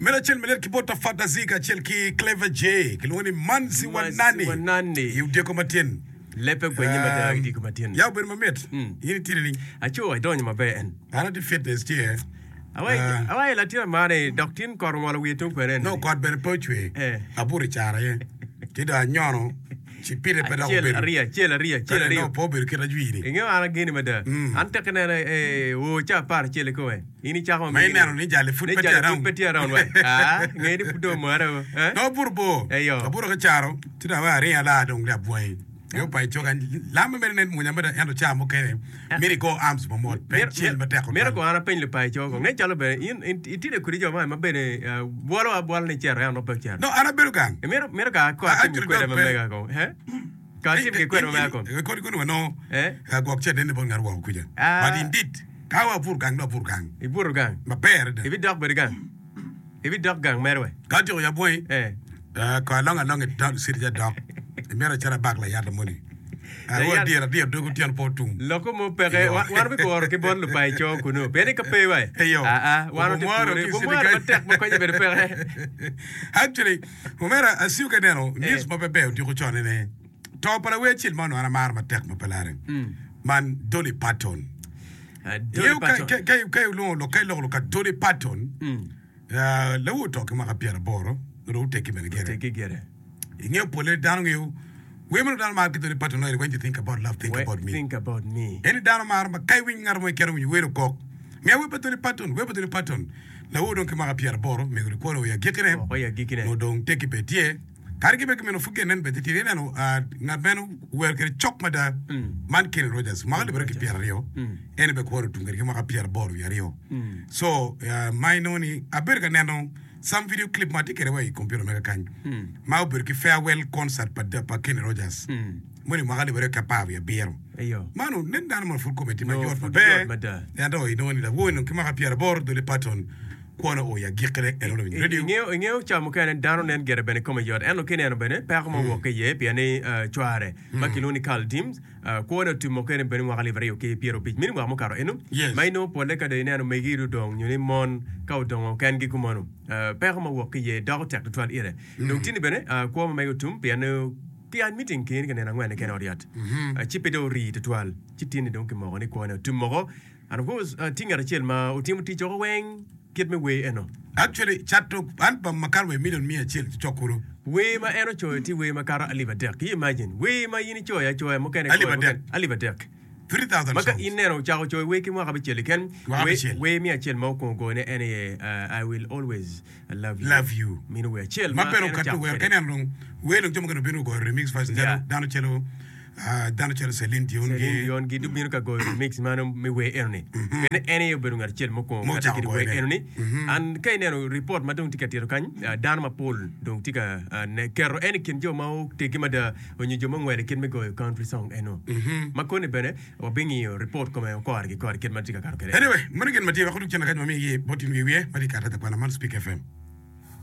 Meno acel malyet ki bot Tafata Z kacel ki Clever J kilwongo ni Manzi wa Manzi wa Nani Nani. i odiko matin. Lebbe gwenye mada i odiko matin. Ya obedo mamit. In itye nining? Aco idonyo maber en. An atye fitness tye. Awai awai latin amara-ni dok tin kot ongolo wiye tung kwene No ni. kot bene pe ocwer. Eh. Abuto i caro aye. Ci dong anyono ci pite pe dok Acel obedo. ariyo acel ariyo acel Kadi ariyo. no pe obedo kit ajwiri. Ingeyo an ageni mada. An tek ineno eh oo ca 11 kome. In icako Ma ineno ni jali pud ni pe tye jali pud around. pe tye around wa. Ah, nge ni pud dong omaro. Eh? Dong abuto bor. Eyo. Abuto ki caro, ci dong aweyo aringo alaa dong abwangi. Yo pa icoka lam mere nen mwonya mada ento ca mukene myero igo arms mamot pe icel matek Mito tutwal. ko an apeny lupaco ko nge calo bene in in itide kodi jo ma ma bene eh, bwolo abwola ni cito ento nongo pe ocito. No, an abedo gang. Mito mito ka ko atim Actually, kwede dok ma pe. mega ko. Eh? Ka atim ki kwede ma mega ko. Kodi koni wanongo Eh? eh, gwok ce nene bot ngat woko kuca. Ah. But indeed, ka wa abuto gang dong abuto gang. Ibuto gang. Maber adada. Ibidok bene gang. Ibidok gang mere we. Ka atyeko yabo wangi, Eh. eh, ko along along i town city ca dok. Imito acito abak layata moni. Arwo Layat- adyera adyera dog otyeno pe otum. Loko mo peke, Iyo. wa- wan wabikuro ki bot lupaco kunu. Pien ni ka pe wa, Iyo. aa, wan watye Obumwaro pure, ki city bumwaro kany. matek ma konye bene peke. Actually, omera asiyo ka ineno news Eh. ma pe ber odiko con ene. To pa lawer acel ma onongo an amaro matek ma pe lare. Man Dolly Parton. Ah, Dolly Ingeyo ka, Parton. ka, ka, ka ilwongo lok, ka iloko lok ka Dolly Parton, ah, lawu oto ki mwaka pyeraboro, nongo oteggi bene gire. Oteggi gire. Ingeyo pole dano ngeyo wer meno dano maro ki Dolly Parton loyo ni When You Think About Love, Think We- About Me. Think about me. Eni dano maro ma ka iwiny ngat mo keken owinyo wer okok. Miya wer pa Dolly Parton, wer pa Dolly Parton. Lawu dong ki mwaka pyeraboro, mego ni kwone oya agikkine. Woko i agikkine. Nongo dong tekki pe tye. Kadi ki bed kumeno pud gin nen bene titidi ineno ngat meno wer kwede cok mada man Kenny Rogers mwaka alip aryo ki pyeraryo en bene kwone otum kwede ki mwaka pyeraboro wiye aryo so ma inongo ni abedo ka neno some video clip ma atye kwede wa i computer mega kany ma obedo ki farewell concert pa Kenny Rogers moni mwaka alip aryo ki apar wiye abiro man nen dano mono pud kome tye mayot maber ento inongo ni lawor-ni ki mwaka pyeraboro Dolly Parton Kwone oo i agikkine, en onongo winyo redio. Ingeyo, ingeyo ca mukene dano nen gire bene kome yot, ento ka ineno bene peko ma owok ki iye pien ni cware ma kilwongo ni Carl Deems kwone otumo kene bene mwaka alip aryo ki pyerabic mini mwaka mukato eno Yes. ma inongo pole ka dong ineno megi odong nyo ni mon ka odongo kengi kumeno peko ma owok ki iye doko tek tutwal ire. Dong tini bene kwo ma mege otum pien ni ki admitting keni ka nino angwen keken i ot yat ci pe dong orii tutwal ci tini dong kimoko ni kwone otum woko. And of course, tye ngat acel ma otimo tic woko weng kit me wer eno. Actually, cato album makato wa i million miya acel cok kulu. Wer ma en ocoyo tye wer makato alip adek. Can you imagine? Wer ma in icoyo acoya mukene Alip icoyo adek. mukene alip adek. 3,000 Ma ka songs. in neno ocako coyo wer ki mwaka abicel keken, Mwaka wer, abicel. wer miya acel ma okwongo goyone en aye uh, I will always love you. Love you. Mino wer acel Ma ma bene en okato ocako wer kwede. ka ineno dong wer dong jo mukene obino goyo remix version Yeah. calo dano calo Dano calo Celine Dion Celine gi. Dion gi gubino ka goyo remix mano me wer eno-ni. Pien en aye obedo ngat acel mukwongo Ma kati ocako kede wer goyone. eno-ni. And ka ineno report ma dong tye ka tito kany, ah, dano mapol dong tye ka ah, ne, keto en i kin jo ma oteggi mada onyo jo ma ongwelo i kit me goyo country song eno. Ma koni bene wabingiyo report kome kore ki kore kit ma tye ka kato kwede. Anyway, meno gin ma tye wek odug cen kany ma migi bot in wiye wiye ma tye ka kato kwana man Speak FM.